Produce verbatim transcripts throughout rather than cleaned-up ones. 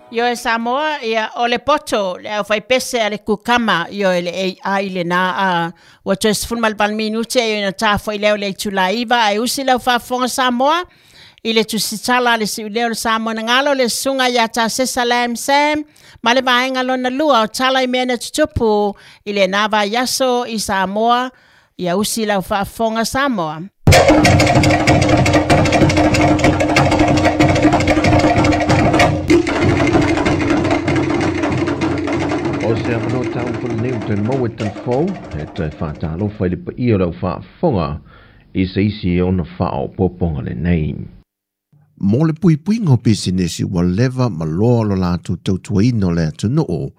Ioe Samoa, ia o le poto, le au fai pese a le kukama, ioe le A I le nā a ua toe sefulu ma le valu minute ioe na tāfo i leo le itula iva ai usi lau faafofoga Samoa i le tusitala le siuleo le Samoa na galo le susuga ia Tasesa Lam Sam ma le vaega lona lua o tala i mea na tutupu i le nā vaiaso i Samoa ia usi lau faafofoga Samoa. O se awano tau whanau te maue telefou, e te whātālofa i le paia lau whaafonga i se isi e ona whao poponga le nei. Mō le puipuiga o pisinisi ua leva ma loa lo latou tautuaina o le atunuu,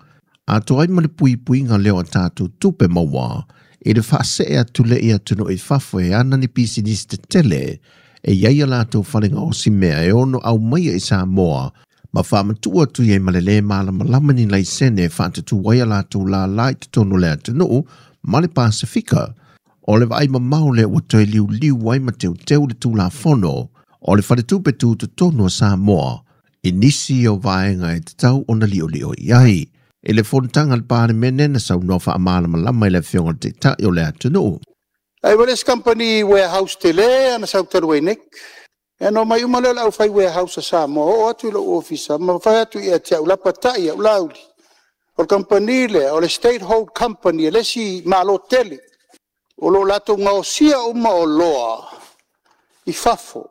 atoa ai ma le puipuiga lea o tatou tupe maua i le faasee atu lea i atunuu i fafo e ana ni pisinisi tetele e iai a latou falega o si mea e ono aumaia i Samoa ma whaamatua atu i ai ma le lē malamalama ni laisene e faatatu ai a latou lālā i totonu o le atunuu ma le Pasifika. O le vaai mamao lea ua toe liuliu ai ma teuteu le Tulafono o le faletupe tutotonu o Samoa i nisi o vaega e tatau ona liolio i ai. I le fonotaga a le Palemene na saunoa faamalamalama i le afioga o le Taitai o le atunuu. Ai wale se company warehouse tele ana sau talu ai nei. E no mai uma lea o le aufai warehouse a Samoa, oo atu i lou ofisa, ma fai atu ia te au lapatai au lauli. O le company lea, o le state hold company, e le isi malo tele. O lo latou gaosia uma o loa i fafo.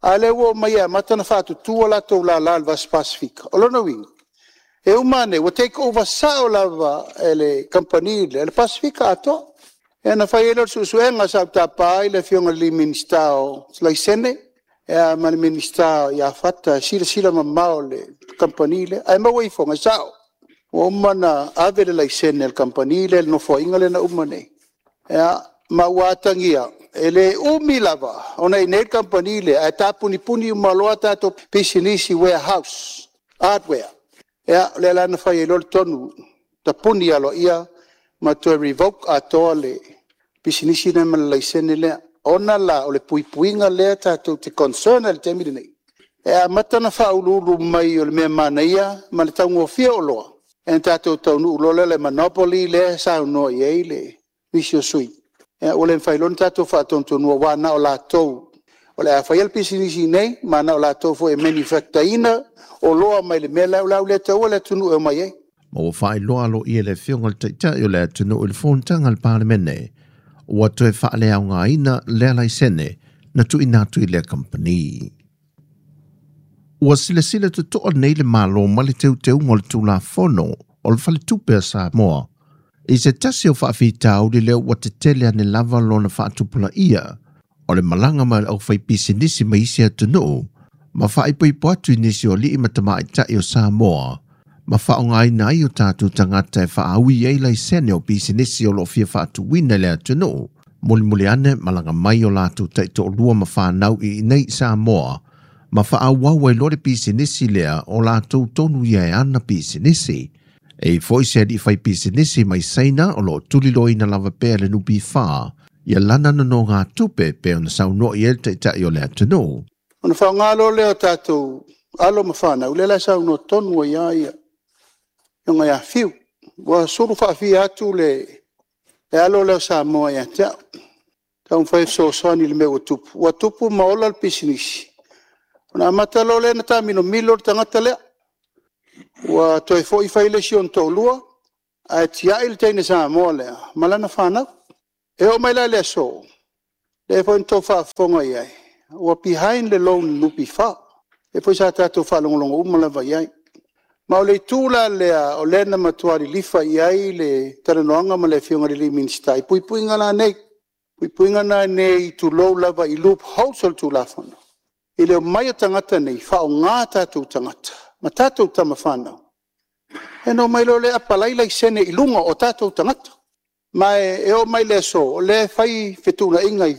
A lea ua omai e amata na faatutua latou lala i le Vasa Pasifika. O lona uiga, e uma ane, ua take over sao lava e le company lea, le Pasifika atoa. E na fai ai lea o le suesuega sa tapa ai le afioga i le Minisita o Laisene, e ma le Minisita ia Fata, silasila mamao le company lea. Ae maua ifoga, e sao. Ua uma na ave le laisene le company lea, le nofoaiga lea na uma nei. Ia, ma ua atagia, e le umi lava, ona i nei le company lea, ae tapunipuni uma loa tatou pisinisi warehouse, hardware. Ia, o lea la na fai ai loa le tonu, tapuni aloaia, ma toe revoke atoa le pisinisi lea ma le laisene lea. Ona la o le puipuiga lea tatou te concern ai i le taimi lenei. E amata na faauluulu mai o le mea manaia ma le taugofie o loa. E tatou taunuu loa lea le monopoly lea saunoa i ai le nisi o sui. E ua le mafai loa ona tatou faatonutonua ua na o latou. O le a faia le pisinisi nei, ma na o latou foi e manufacture-ina o loa mai le mea lea o le a le taua le atunuu e omai ai. Ma ua faailoa aloaia le afioga i le Taitai o le atunuu i le fonotaga a le Palemene. Ua toe faaleaogaina lea laisene na tuuina atu i lea kampani. Ua silasila totoa nei le Malo ma le teuteuga o le Tulafono o le Faletupe a Samoa. I se tasi o faafitauli lea ua tetele ane lava lona faatupulaia o le malaga ma le aufaipisinisi ma isi atunuu ma faaipoipo atu i nisi o alii ma tamaitai o Samoa ma faaaogaina ai o tatou tagata e faaui ai laisene o pisinisi o loo fia faatuina i le atunuu. Mulimuli ane malaga mai o latou taitoalua ma fanau i inei Samoa ma faaauau ai loa le pisinisi lea o latou tonu ia e ana pisinisi. E foi se alii fai pisinisi mai Saina o loo tuliloaina lava pea le N P F ia lana nonogatupe pe ona saunoa i ai le Taitai o le atunuu. Ona faaaoga loa lea o tatou alo ma fanau, lea la e saunoa tonu ai lava ia afioga ia Fiu. Ua sulu faafia atu le, le alo lea o Samoa ia te au. Taumafai e fesoasoani i le mea ua tupu. Ua tupu ma ola le pisinisi. Ona amata loa lea na taamilomilo le tagata lea. Ua toe foi fai le isi ona toalua, ae tiai le teine Samoa lea ma lana fanau. E oo mai la i le aso, lea foi na tou faafofoga i ai, ua behind le loan N P F. E foi sa tatou faalogologo uma lava i ai. Ma o le itu la lea, o lea na matua lilifa i ai le talanoaga ma le afioga i le Minisita i puipuiga la nei. Puipuiga la nei tulou lava i loopholes o le Tulafono. I le omai o tagata nei, faaaoga tatou tagata ma tatou tama fanau. E no mai loa lea apalai laisene i luga o tatou tagata. Ma e oo mai le aso, o lea e fai fetuunaiga i,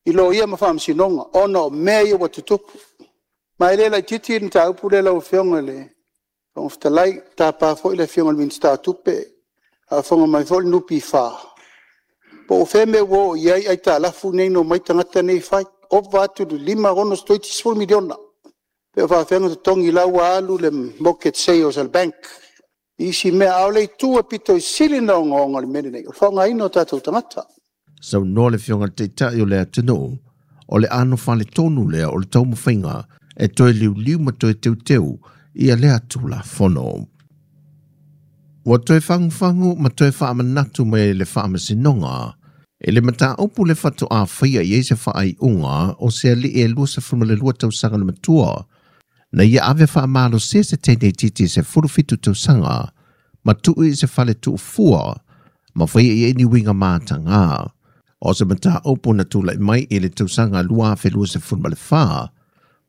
i loia ma faamasinoga, ona o mea ia ua tutupu. Ma e le laitiiti le mataupu lea lau afioga i le Fofoga Fetalai, tapa foi le afioga i le Minisita o Tupe, faafofoga mai foi le N P F, po o fea mea ua oo i ai aitalafu nei na omai tagata nei fai. Ova atu i le lima, ono, toeitiiti sefulu miliona. Pe o faafeaga totogi la ua alu le mortgage sales a le bank i isi mea, a o le itu e pito i sili ona ogaoga o le mea lenei, o le faaaogaina o tatou tagata. Saunoa le Afioga i le Taitai o le atunuu, o le anofale tonu lea o le taumafaiga e toe liuliu ma toe teuteu ia lea Tulafono. Ua toe fagufagu ma toe faamanatu mai le Faamasinoga e le mataupu le faatoa faia i ai se faaiuga o se alii e luasefulu ma le lua tausaga le matua na ia ave faamalosia se teine itiiti sefulu fitu tausaga ma tuu i se fale tuufua ma faia i ai ni uiga mataga. O se mataupu na tulai mai i le tausaga lua afe luasefulu ma le fa,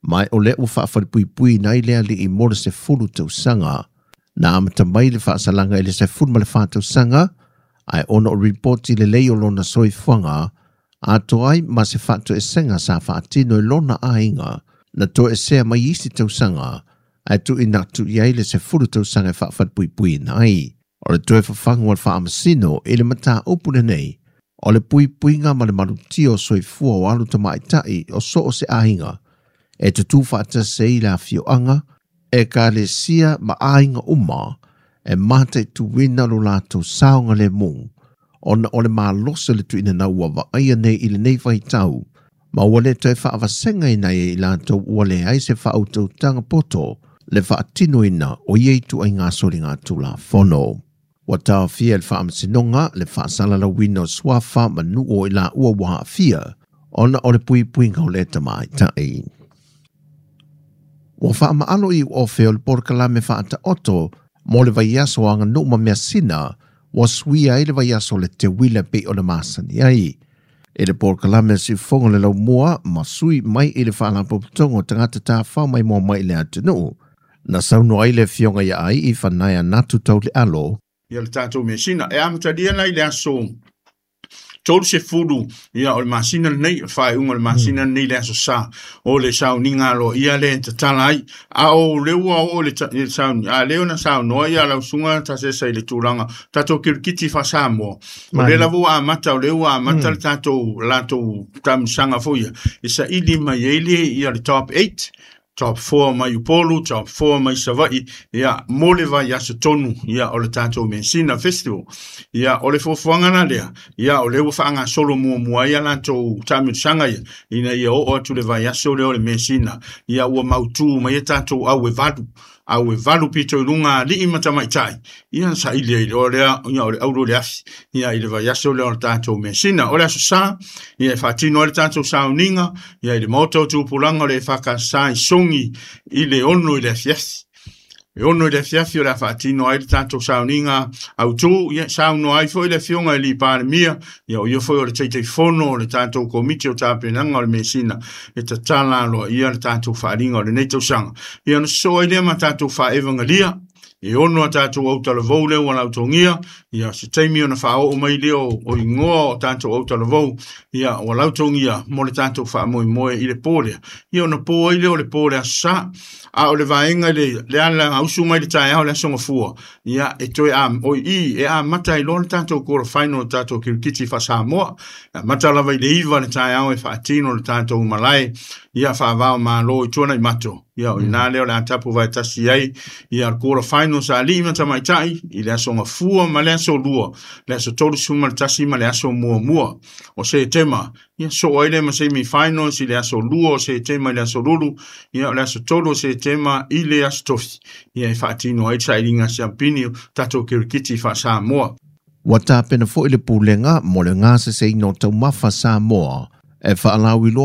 ma o lea ua faafalepuipuiina ai le alii mo le sefulu tausaga. Na amata mai le faasalaga i le sefulu ma le fa tausaga, ae ona o ripoti lelei o lona soifuaga atoa ai ma se faatoesega sa faatino i lona aiga, na toesea mai isi tausaga ae tuuina atu i ai le sefulu tausaga e faafalepuipuiina ai. O le toe fafagu o le Faamasino i le mataupu lenei, o le puipuiga ma le malutia o soifua o alo tamaitai o so o se aiga e tutū faatasi ai le afioaga, ekalesia ma aiga uma e mataituina lo latou saogalemu, ona o le malosi o le tuuina nau ua vaaia nei i lenei vaitau, ma ua le toe faavasegaina ai i latou ua leai se faautautaga poto le faatinoina o ia ituaiga soligatulafono. Ua taofia e le Faamasinoga le faasalalauina o suafa ma nuu o i laua ua aafia ona o le puipuiga o le tamaitai. Ua faamaalo i ofe o le polokalame faataoto mo le vaiaso aganuu ma measina ua suia ai le vaiaso le teuila pei o le masani ai. I le polokalame siufogo le laumua ma sui mai i le faalapotopotoga o tagata tafafao maimoa mai i le atunuu. Na saunoa ai le Afioga ia ai i Fanaia Natu Taulealo. Ia le tatou mesina e amatalia la i le aso tolu sefulu ia o le masina lenei, o le faaiuga o le masina lenei, le aso Sa o le sauniga aloaia le tatala ai, a o le ua oo le sauni a lea ona saunoa ia lau susuga Tasesa i le tulaga tatou kirikiti faa-Samoa o lea lava ua amata, o lea ua amata le tatou latou taamilosaga foi ia e saili mai ai le ia le top eight, top four mai Upolu, top four mai Savaii, ia mo le vaiaso tonu ia o le tatou Mesina Festival. Ia o le fuafuaga la lea, ia o lea ua faagasolo muamua ai latou taamilosaga ia, ina ia oo atu le vaiaso lea o le Mesina, ia ua mautu mai e tatou au e valu au e valu pito i luga alii ma tamaitai, ia saili ai loa lea ia o le auro le afi ia i le vaiaso lea o le tatou Mesina. O le aso Sa ia e faatino ai le tatou sauniga ia i le maota o tupulaga o le E F K S i Sogi i le ono i le afiafi. E ono i le afiafi o le a faatino ai le tatou sauniga autū, ia saunoa ai foi le Afioga i le Palemia, ia o ia foi o le Taitaifono o le tatou Komiti o Tapenaga o le Mesina e tatala aloaia le tatou faaaliga o lenei tausaga. Ia ona sosoo ai lea ma tatou faaevagalia e ono a tatou autalavou lea ua lautogia, ia se taimi ona faaoo mai lea o igoa o tatou autalavou ia ua lautogia mo le tatou faamoemoe i le po lea. Ia ona po ai lea o le po le aso Sa, a o le vaega le, le ala ausu mai le taeao le aso Gafua, ia e toe a, o i e amata ai loa le tatou quarter final o le tatou kirikiti faa-Samoa. E amata lava i le iva le taeao e faatino le tatou malae ia faavao malo i Tuanaimato. Ia o ina lea o le a tapu vaetasi ai ia le quarter final sa alii ma tamaitai i le aso Gafua ma le aso Lua, le aso tolusefulu ma le tasi ma le aso muamua o Setema. Ia soo ai lea ma semi finals i le aso Lua o Setema i le aso Lulu, ia o le aso tolu o Setema i le aso Tofi. Ia e faatino ai le sailiga siampini o tatou kirikiti faa-Samoa. Ua tapena foi le pulega mo le gaseseina o taumafa Samoa e faalauiloa.